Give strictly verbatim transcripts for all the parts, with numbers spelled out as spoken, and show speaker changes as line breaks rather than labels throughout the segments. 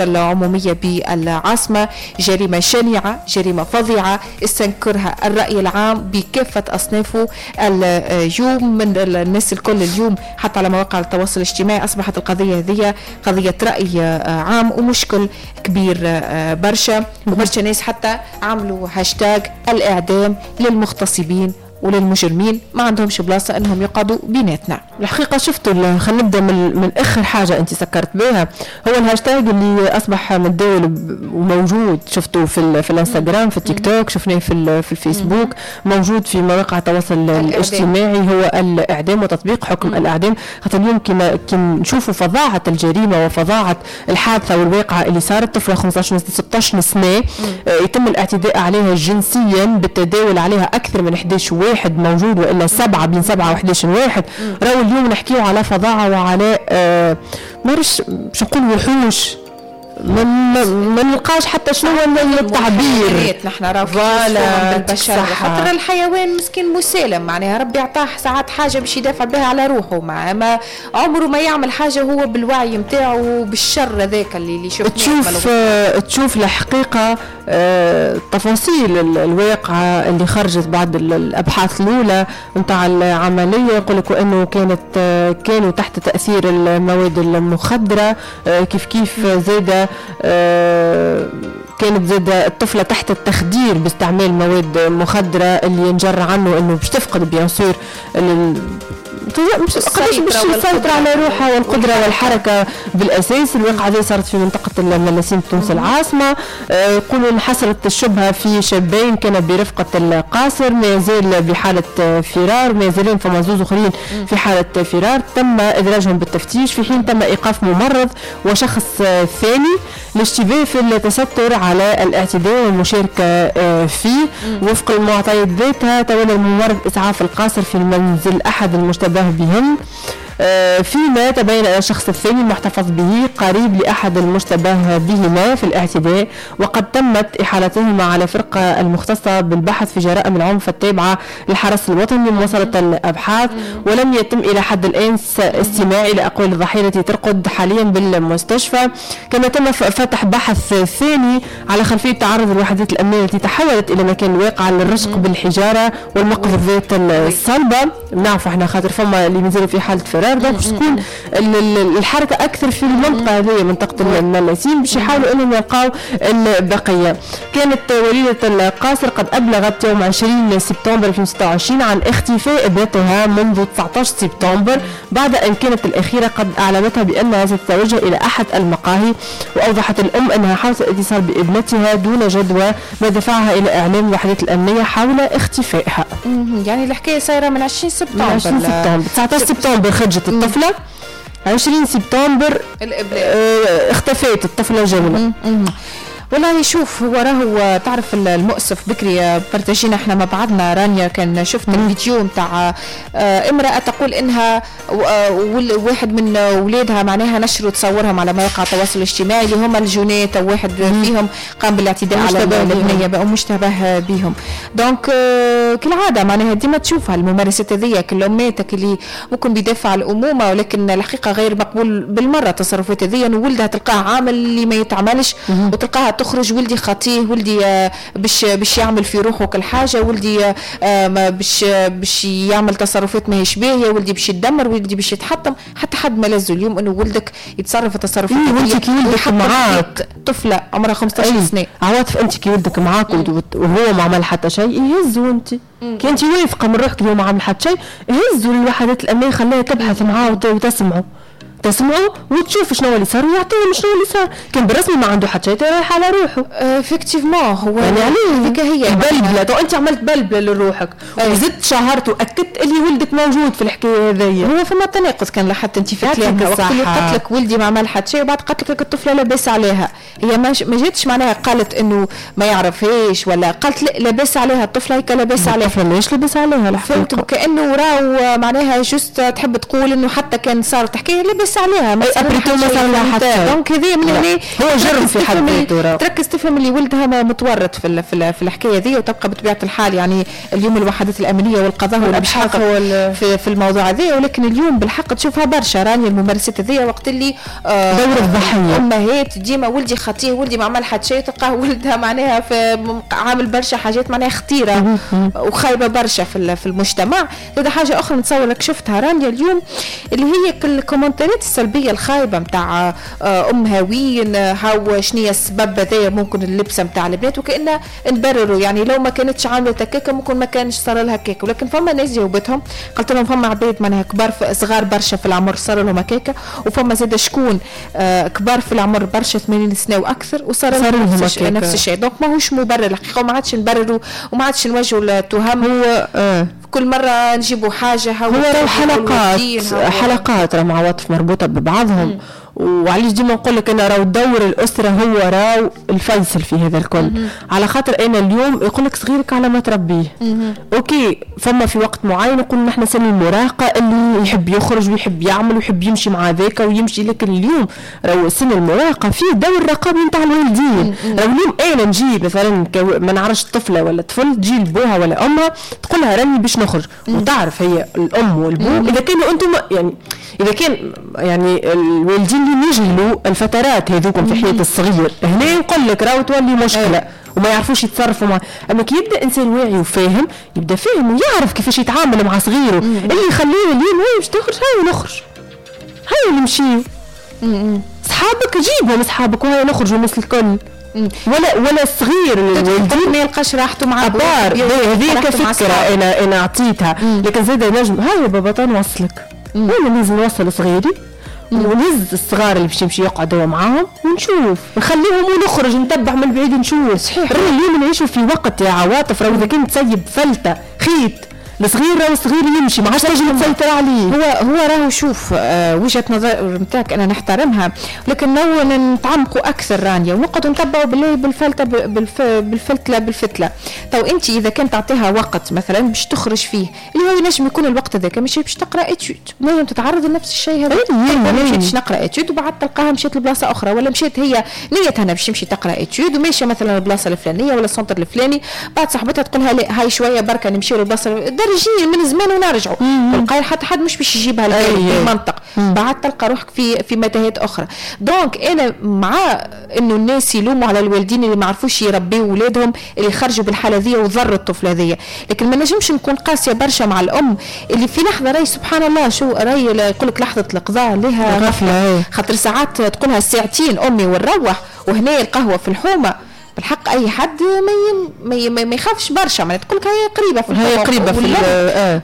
العمومية بالعاصمة. جريمة شنيعة، جريمة فظيعة، استنكرها الرأي العام بكافة أصنافه اليوم، من الناس الكل اليوم حتى على مواقع التواصل الاجتماعي أصبحت القضية هذه قضية رأي عام ومشكل كبير برشا، وبرشا ناس حتى عملوا هاشتاج الإعدام للمغتصبين وللمجرمين، ما عندهمش بلاصة انهم يقعدوا بيناتنا.
الحقيقة شفتوا، خلينا نبدا من, من اخر حاجة انت سكرت بها، هو الهاشتاج اللي اصبح متداول وموجود، شفتوا في في الانستغرام، في التيك توك، شفناه في في الفيسبوك، موجود في مواقع التواصل الاجتماعي، هو الاعدام وتطبيق حكم الاعدام. خاطر اليوم كما كي نشوفوا فظاعة الجريمة وفظاعه الحادثة والواقعه اللي صارت، طفله خمسطاش ستطاش سنة يتم الاعتداء عليها جنسيا بالتداول عليها اكثر من احداش واحد موجود، والا سبعة، بين سبعة وحداش واحد. راهو اليوم نحكيو على فظاعة وعلى آه مارش باش نقول وحوش، ما ما نلقاش حتى شنو هو التعبير.
نحن راهو بالبشر، خاطر الحيوان مسكين مسالم، معناها ربي عطاه ساعات حاجة باش يدافع بها على روحه، مع ما عمره ما يعمل حاجة هو بالوعي نتاعو بالشر هذاك اللي اللي شفناه.
تشوف آه تشوف الحقيقة آه تفاصيل الواقعة اللي خرجت بعد الابحاث الاولى نتاع العملية، يقول لك انه كانت آه كانوا تحت تاثير المواد المخدره، آه كيف كيف زاده آه كانت زاد الطفلة تحت التخدير باستعمال مواد مخدرة اللي ينجر عنه انه باش تفقد bien sûr مش قداش باش تسيطر على روحها والقدرة والحركة بالاساس. الواقعة هذه صارت في منطقة الملاسين تونس العاصمة. يقولوا انحصرت الشبهة في شابين كان برفقه القاصر، ما يزال بحاله فرار، ما يزالين فما زوز اخرين في حاله فرار، تم ادراجهم بالتفتيش، في حين تم ايقاف ممرض وشخص ثاني للاشتباه في التستر على الاعتداء والمشاركة فيه. وفق المعطيات ذاتها تولى الممرض اسعاف القاصر في المنزل احد المشتبه بهم، فيما تبين أن الشخص الثاني المحتفظ به قريب لأحد المشتبه بهما في الاعتداء، وقد تمت إحالتهما على فرقة المختصة بالبحث في جرائم العنف التابعة للحرس الوطني لمواصلة الأبحاث. ولم يتم إلى حد الآن استماع إلى أقوال الضحية التي ترقد حاليا بالمستشفى. كما تم فتح بحث ثاني على خلفية تعرض الوحدات الأمنية التي تحولت إلى مكان الواقعة للرشق بالحجارة والمقذوفات الصلبة. نعرف احنا خاطر فما اللي مازالوا في حالة فرار، باش تكون الحركة اكثر في المنطقة هذه، منطقة الملاسين، باش يحاولوا انهم يلقاو البقية. كانت وليده القاصر قد ابلغت يوم عشرين سبتمبر ألفين وستة وعشرين عن اختفاء ابنتها منذ تسعطاش سبتمبر، بعد ان كانت الاخيرة قد اعلمتها بانها ستتوجه الى احد المقاهي. واوضحت الام انها حاولت الاتصال بابنتها دون جدوى، ما دفعها الى اعلام الوحدات الامنية حول اختفائها.
يعني الحكاية صايرة من عشرين سبتمبر،
عشرين سبتمبر تسعطاش سبتمبر خرجت الطفلة، عشرين سبتمبر اه اختفت الطفلة جملة.
والله شوف، هو راهو تعرف المؤسف بكري بارتاجينا احنا مع بعضنا رانيا، كان شفنا الفيديو نتاع امرأة تقول انها واحد من اولادها معناها نشروا تصورهم على مواقع التواصل الاجتماعي اللي هما الجنات، او واحد فيهم قام بالاعتداء على البنية او مشتبه بهم. donc كالعادة معناها ديما تشوفها الممارسات هذيا، كل اماتك اللي ممكن بيدافع على الامومة، ولكن الحقيقة غير مقبول بالمرة التصرفات هذيا. ولدها تلقاه عامل اللي ما يتعملش، وتلقاها تخرج ولدي خطيه، ولدي باش باش يعمل في روحه كل حاجة، ولدي باش باش يعمل تصرفات ماهيش باهيه، ولدي باش يتدمر، ولدي باش يتحطم. حتى حد ما لازم اليوم انه ولدك يتصرف تصرفات.
إيه انت كي ولدك معاك
طفله عمرها خمسطاش سنة،
عواطف، انت كي ولدك معاك وهو ما عمل حتى شيء يهزوا، انت كي انت واثقة من روحك اليوم ما عمل حتى شيء هزوا الوحدات الامنية، خليها تبحث معاه وتسمعه تسمعوا وتشوف شنو اللي صار ويعطيهم شنو اللي صار. كان بالرسمي ما عنده حتى شيء رايح على روحه.
effectivement هو
يعني عليه هذيك هي بلبلة. تو انت عملت بلبلة لروحك وزدت شهرت واكدت اللي ولدك موجود في الحكاية هذيا.
هو فما تناقض كان لاحظت انت في كلامك وقت اللي قالت لك ولدي ما عمل حتى شيء، وبعد قالت لك الطفلة لاباس عليها. هي ما جاتش معناها قالت انه ما يعرفهاش ولا قالت لا لاباس عليها الطفلة، هيك لاباس عليها.
الطفلة ماهيش لاباس عليها
الحقيقة، فهمت؟ كانه راهو معناها juste تحب تقول انه حتى كان صارت حكاية لاباس عليها، ما صار لها حتى. donc هذه من هنا
هو جرم في حد ذاته،
تركز تفهم اللي ولدها متورط في في الحكاية ذي. وتبقى بطبيعة الحال يعني اليوم الوحدات الامنية والقضاء هو اللي في, في الموضوع هذا، ولكن اليوم بالحق تشوفها برشا راني الممارسات هذيا وقت اللي
آه دور الضحية،
امهات ديما ولدي خطيه، ولدي ما عمل حتى شيء، تلقاه ولدها معناها في عامل برشا حاجات معناها خطيرة وخايبه برشا في في المجتمع. هذا حاجة اخرى نتصور لك شفتها رانيا اليوم اللي هي الكومنتات السلبية الخايبة نتاع امها وين هاو شنية السبب هذايا ممكن اللبسه نتاع البنات، وكأنها نبرروا يعني لو ما كانتش عامله هكاكا ممكن ما كانش صار لها هكاكا. ولكن فما ناس جاوبتهم قلت لهم فما عباد معناها كبار صغار برشا في العمر صار لهم هكاكا، وفما زاد شكون آه كبار في العمر برشا ثمانين سنة واكثر وصار لهم نفس, نفس الشيء. donc ماهوش مبرر الحقيقة، وما عادش نبرروا وما عادش نوجهوا التهم.
هو آه
كل مرة نجيبوا حاجة
هو راهو حلقات حلقات راه مع عواطف مربوطة ببعضهم. وعلاش ديما نقول لك انا راهو دور الاسرة هو راهو الفيصل في هذا الكل. مم. على خاطر انا اليوم يقول لك صغيرك على ما تربيه. مم. OK فما في وقت معين يقول نحن سن المراهقة اللي يحب يخرج ويحب يعمل ويحب يمشي مع ذاك ويمشي، لكن اليوم راهو سن المراهقة فيه دور رقابي نتاع الوالدين. راهو اليوم انا نجي مثلا ما نعرفش طفله ولا طفل تجي لبوها ولا امها تقول لها راني باش نخرج، وتعرف هي الام والبو اذا كانوا انتم يعني اذا كان يعني الوالدين اللي يجهلوا الفترات هذوكم في حياة الصغير، هنا يقول لك راهو تولي مشكلة وما يعرفوش يتصرفوا مع. اما كي يبدا انسان واعي وفاهم يبدا فاهم ويعرف كيفاش يتعامل مع صغيرة اللي يخليه اليوم هاي باش تخرج هاي نخرج هاي نمشي صحابك جيبهم صحابك وهاي نخرجوا الناس الكل. ولا ولا الصغير
الوالدين ما يلقاش راحته مع
بار. هذه كفكرة انا انا اعطيتها، لكن زاد نجم هاي بابا نوصلك وانا لازم نوصل صغيري ونهز الصغار اللي باش يمشي يقعدوا معاهم ونشوف نخليهم ونخرج نتبع من بعيد نشوف. صحيح اليوم نعيشوا في وقت يا عواطف راهو اذا كنت تسيب فلته خيط الصغير راهو الصغير يمشي ما عادش تنجم تسيطر عليه.
هو هو راهو شوف آه وجهه نظر نتاعك انا نحترمها، لكن نو نتعمقوا اكثر رانيا ونقعدوا نتبعوا بالله بالفلته بالف بالفتله بالفتله. تو انت اذا كان تعطيها وقت مثلا باش تخرج فيه اللي هو ينجم يكون الوقت هذاك ماشي باش تقرا étude، نجم تتعرض لنفس الشيء هذا. مشيتش نقرا étude وبعد تلقاها مشات لبلاصه اخرى، ولا مشات هي نيتها باش تمشي تقرا étude وماشية مثلا البلاصة الفلانية ولا ال centre الفلاني، بعد صاحبتها تقولها لا هاي شوية بركة نمشيو للبلاصه درجين من زمان ونرجعوا، تلقاي حتى حد مش باش يجيبها بالمنطق. بعد تلقى روحك في في متاهات اخرى. donc انا مع انه الناس يلوموا على الوالدين اللي ما عرفوش يربيوا اولادهم اللي خرجوا بالحالة ذي وضروا الطفلة ذي، لكن ما نجمش نكون قاسية برشا مع الام اللي في لحظة راي سبحان الله شو راي يقول لك لحظة القضاء لها
غفلة،
خاطر ساعات تقولها ساعتين امي ونروح وهنا القهوة في الحومه. بالحق اي حد ما ما ما يخافش برشا، معناها تقول لك هي قريبه في
هي قريبه في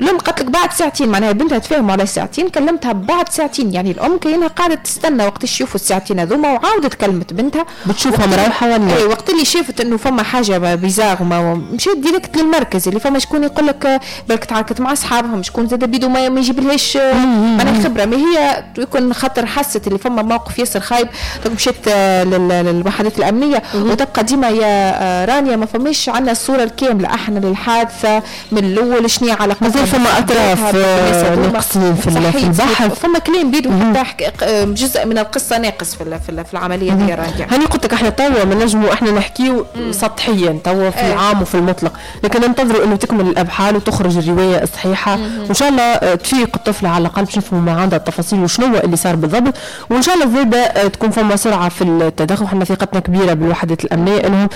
الام قالت لك بعد ساعتين، معناها بنتها تفاهموا على ساعتين كلمتها بعد ساعتين، يعني الام كاينها قاعدة تستنى وقت يشوفوا الساعتين هذوما وعاودت كلمت بنتها
بتشوفها مروحة ولا
اي وقت اللي شافت انه فما حاجة bizarre وما مشات direct للمركز اللي فما شكون يقول لك بالك تعاركت مع اصحابهم، شكون زاد بيدو ما يجيبلهاش معناها خبره، ما هي يكون خاطر حست اللي فما موقف ياسر خايب مشات للوحدات الامنية. وتبقى ديما يا رانيا ما فماش عندنا الصورة الكاملة احنا للحادثه من الاول شنو علاقتها،
مازال فما اطراف ناقصين في البحث،
فما كلام بيدو حتى جزء من القصة ناقص في في العملية دي رانيا.
هاني قلت لك احنا توا ما نجموا احنا نحكيو سطحيا توا في العام وفي المطلق، لكن ننتظروا انه تكمل الابحاث وتخرج الرواية الصحيحة، وان شاء الله تفيق الطفلة على الاقل باش نفهموا ما عندها التفاصيل وشنو اللي صار بالضبط، وان شاء الله زاده تكون فما سرعة في التدخل. احنا ثقتنا كبيرة بالوحدات الامنية انهم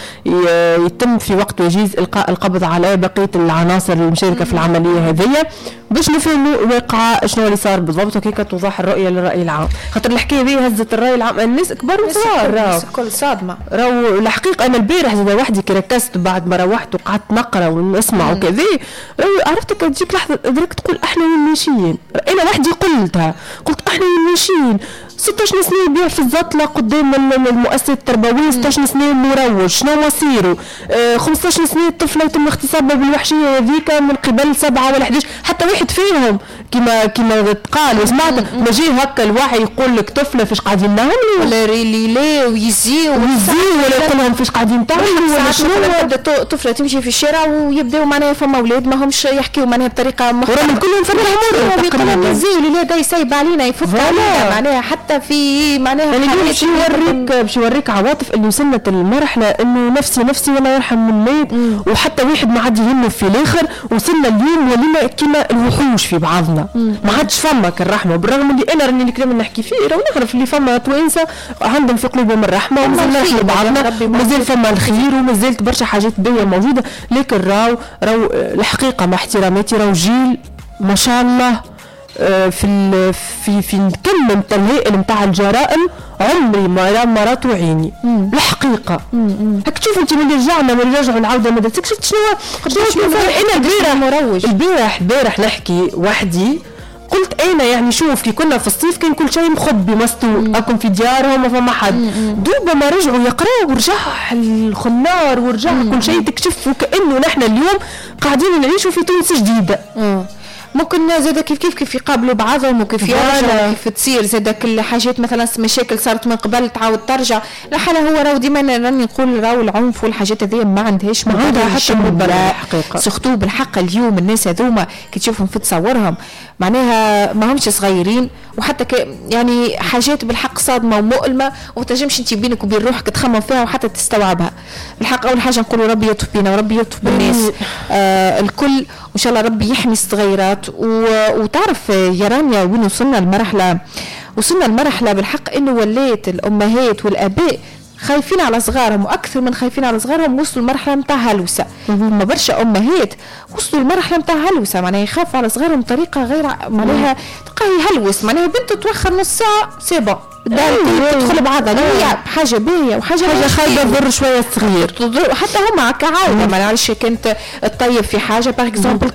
يتم في وقت وجيز القاء القبض على بقية العناصر المشاركة في العملية هذه باش نفهموا واقع شنو اللي صار بالضبط وكيف توضح الرؤية للراي العام، خاطر الحكاية هذه هزت الراي العام، الناس كبار وصغار
راهو الكل صادمه.
راهو الحقيقة انا البارح زاد وحدي كي ركزت بعد ما روحت وقعدت نقرا ونسمع وكذا، عرفت كي تجيك لحظة ادراك تقول احنا وين ماشيين، انا وحدي قلتها، قلت احنا وين ماشيين، ستة عشر سنة يبيع في الزطله قدام المؤسسة التربوية، ستة عشر سنة مروج شنو مصيره، آه خمسة عشر سنة الطفلة يتم اغتصابها بالوحشيه هذيك من قبل سبعة ولا أحد عشر، حتى واحد فيهم كما كما تقال وسمعت ما جي هكا الوعي يقول لك طفله فاش قاعدين نعملوا
ولا لا ويزيو
ويزيو ولا يقول لهم فاش قاعدين تعملوا
ولا شنو. تبدا طفله تمشي في الشارع ويبداو معناها فما اولاد ما همش يحكيو معناها بطريقة
محترمه كلهم
فرحوا يقولوا يزيو الولاد يسيب علينا يفك علينا معناها حتى في معناها
يعني باش يوريك باش يوريك عواطف اللي وصلت المرحلة انه نفسي نفسي ولا يرحم من مات وحتى واحد ما عاد يهمه في الاخر. وصلنا اليوم ولينا كيما الوحوش في بعضنا ما عادش فما الرحمة، بالرغم اللي انا راني الكلام اللي نحكي فيه راه نعرف اللي فما توانسة عندهم في قلوبهم الرحمة ومازال نرحموا بعضنا، مازال فما الخير ومازالت برشا حاجات باهيه موجودة، لكن راو راو الحقيقة مع احتراماتي راو جيل ما شاء الله في في في الكم نتاع الهائل نتاع الجرائم عمري ما ما راتو عيني الحقيقة. هاك تشوف انت ملي رجعنا ملي رجعوا العودة المدرسية شفت شنو شنو انا البارح البارح البارح نحكي وحدي قلت انا يعني شوف كي كنا في الصيف كان كل شيء مخبي مستور اكم في ديارهم ما فما حد، دوبا ما رجعوا يقراوا ورجع الخنار ورجع كل شيء تكشف وكانه نحن اليوم قاعدين نعيشوا في تونس جديدة.
مم. ممكن زاد كيف كيف كيف يقابلوا بعضهم وكيف يرجعوا كيف تصير زاد كل حاجات مثلا مشاكل صارت من قبل تعاود ترجع الحالة. هو راهو ديما راني نقول راهو العنف والحاجات هذه ما عندهاش
ما عندها حتى مبرر الحقيقة،
surtout بالحق اليوم الناس هذوما كي تشوفهم في تصورهم معناها ما همش صغيرين وحتى ك يعني حاجات بالحق صادمه ومؤلمة وما تنجمش انت بينك وبين روحك تخمم فيها وحتى تستوعبها. بالحق اول حاجة نقولوا ربي يلطف بينا وربي يلطف بالناس آه الكل، وان شاء الله ربي يحمي الصغيرات. وتعرف يا رانيا وين وصلنا المرحلة؟ وصلنا المرحلة بالحق انه ولات الامهات والاباء خايفين على صغارهم، واكثر من خايفين على صغارهم وصلوا المرحلة نتاع هلوسه. ما برشا امهات وصلوا المرحلة نتاع هلوسه، معناها يخافوا على صغارهم بطريقة غير معناها تلقاه يهلوس، معناها بنته توخر نص ساعة c'est bon الدار تدخل بعضها. هي حاجة باهيه وحاجه
حاجة خايبة تضر شوية الصغير،
حتى هما كعائله ما نعرفش كانت تطيب في حاجة par exemple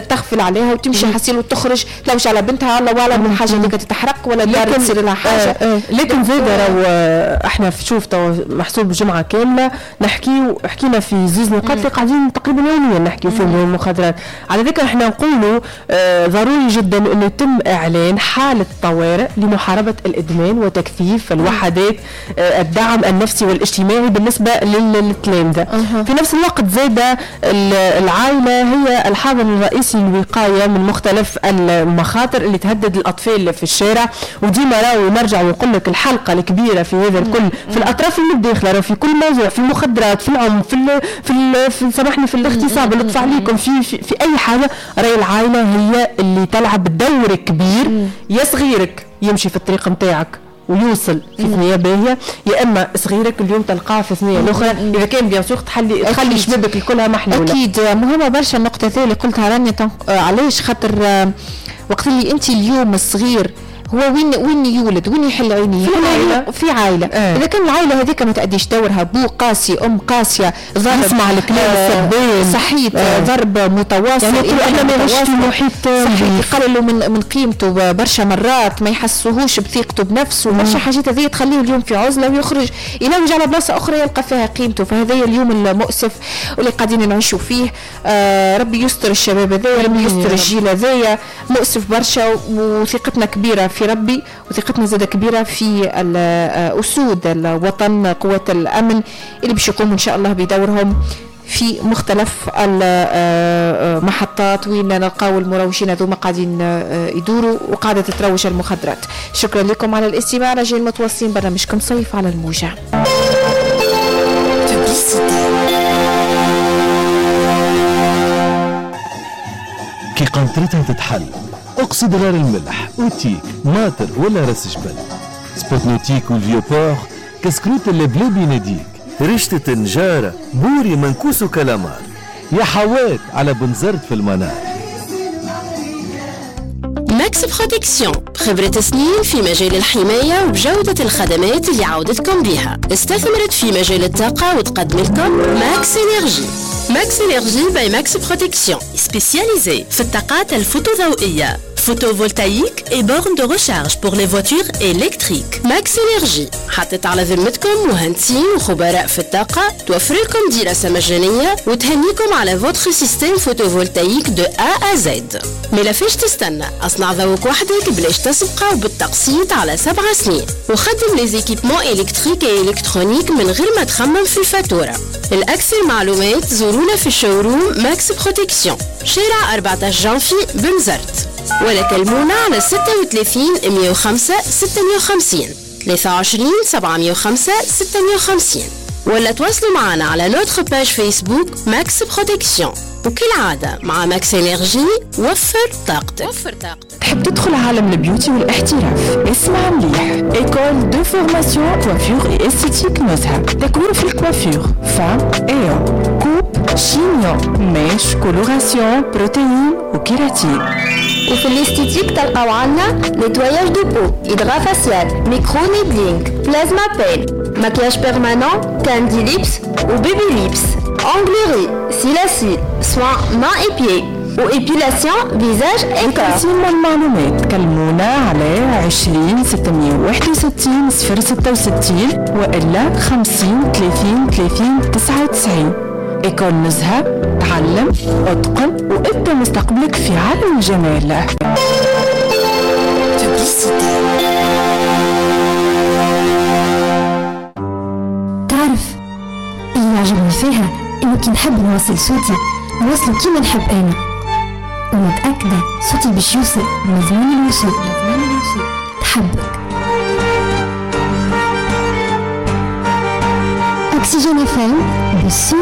تغفل عليها وتمشي حسيل وتخرج تلوش على بنتها الله اعلم الحاجة اللي تتحرق ولا الدار تصير لها حاجة.
آه آه. لكن زاد راهو احنا في شوف تو محسوب جمعه كاملة نحكيو حكينا في زوز نقاط اللي قاعدين تقريبا يوميا نحكيو فيهم المخدرات. على ذلك احنا نقولوا آه ضروري جدا انه يتم اعلان حاله طوارئ لمحاربة الادمان وتكثيف الوحدات الدعم النفسي والاجتماعي بالنسبة للتلامذة. في نفس الوقت زاد العائلة هي الحاضن الرئيسي للوقاية من مختلف المخاطر اللي تهدد الأطفال في الشارع. وديما راهو نرجع ونقول لك الحلقة الكبيرة في هذا الكل في الأطراف المتداخلة، راهو في كل موضوع، في المخدرات، في العنف، في ال في, ال في سامحني في الاغتصاب اللي طفى عليكم، في, في في أي حاجة، راهي العائلة هي اللي تلعب دور كبير. يا صغيرك يمشي في الطريق نتاعك ويوصل في ثنيه باهيه، يا اما صغيرك اليوم تلقاه في ثنيه الاخرى اذا كان bien sûr تحلي تخلي شبابك الكلها محلولة.
اكيد مهمة برشا النقطة هذه اللي قلتها رانيا. علاش؟ خاطر وقت اللي انت اليوم الصغير هو وين وين يولد وين يحل عينيه؟
في عائلة،
في عائلة. آه. اذا كان العائلة هذيك ما تاديش دورها، بو قاسي، ام قاسية، ضرب،
يسمع الكلام السبان،
صحيت، آه. ضرب متواصل،
يعني احنا ما يعيش في محيط
صحيح، يقللوا من من قيمته برشا مرات، ما يحسوهوش بثقته بنفسه، برشا حاجات هذه تخليه اليوم في عزله ويخرج يلوج على بلاصة اخرى يلقى فيها قيمته. فهذا اليوم المؤسف واللي قاعدين نعيشوا فيه. آه ربي يستر الشباب هذايا، ربي يستر الجيل هذايا، مؤسف برشا، وثقتنا كبيرة في ربي وثقتنا زادة كبيرة في أسود الوطن، قوات الأمن اللي باش يقوموا إن شاء الله بدورهم في مختلف المحطات وين نلقاو المروجين هذوما قاعدين يدوروا وقاعدة تتروج المخدرات. شكرا لكم على الاستماع. رجال متواصلين برنامجكم صيف على الموجة.
كي قنطرتها تتحل اقصد غير الملح، اوتيك، ماطر ولا راس جبل، spot nautique وال Vieux-Port، كسكروت اللبلابي يناديك، رشتة تنجارة، بوري منكوس وكلامار، يا حوات على بنزرت في المنار.
Max Protection خبرة سنين في مجال الحماية وبجودة الخدمات اللي عودتكم بها، استثمرت في مجال الطاقة وتقدم لكم Max Énergie. Max Énergie by Max Protection spécialisée في الطاقات الفوتوضوئية، photovoltaïque et bornes de recharge pour les voitures électriques. Max Énergie حطت على ذمتكم مهندسين وخبراء في الطاقة، توفر لكم دراسة مجانية وتهنيكم على votre système photovoltaïque de A à Z. مالا فاش تستنى؟ اصنع ضوءك وحدك بلاش تسبقة وبالتقسيط على سبع سنين، وخدم les équipements électriques et électroniques من غير ما تخمم في الفاتورة. الأكثر معلومات زورونا في ال showroom Max Protection، شارع أربعة عشر جانفي بنزرت، ولا كلمونا على ستة وثلاثين مية وخمسة ستمية وخمسين، ثلاثة وعشرين سبعمية وخمسة ستمية وخمسين، ولا تواصلوا معنا على notre page Facebook Max Protection. وكالعادة مع Max Énergie، وفر طاقتك، وفر طاقتك.
تحب تدخل عالم ال beauty والاحتراف؟ اسمع مليح، école de formation coiffure et esthétique نزهه، تكوين في ال coiffure femme et homme، coupe، chignon، mèches، coloration، protéine و kératine.
وفي ال esthétique تلقاو عنا nettoyage de peau، hydrafacial، micro-needling، plasma peel، maquillage permanent، candy lips و baby lips، onglerie، cils à cils، soins mains et pieds و épilation visage et corps.
للتنسيق والمعلومات كلمونا على عشرين ستمية وواحد وستين صفر ستة وستين وإلا خمسين ثلاثين ثلاثين تسعة وتسعين. école نزهة، تعلم، اتقن وابدأ مستقبلك في عالم الجمال.
Publicité.
تعرف اللي يعجبني فيها انه كي نحب نوصل صوتي نوصله كيما نحب انا، ومتأكدة صوتي باش يوصل مضمون الوصول. تحبك Oxygène FM بالصوت.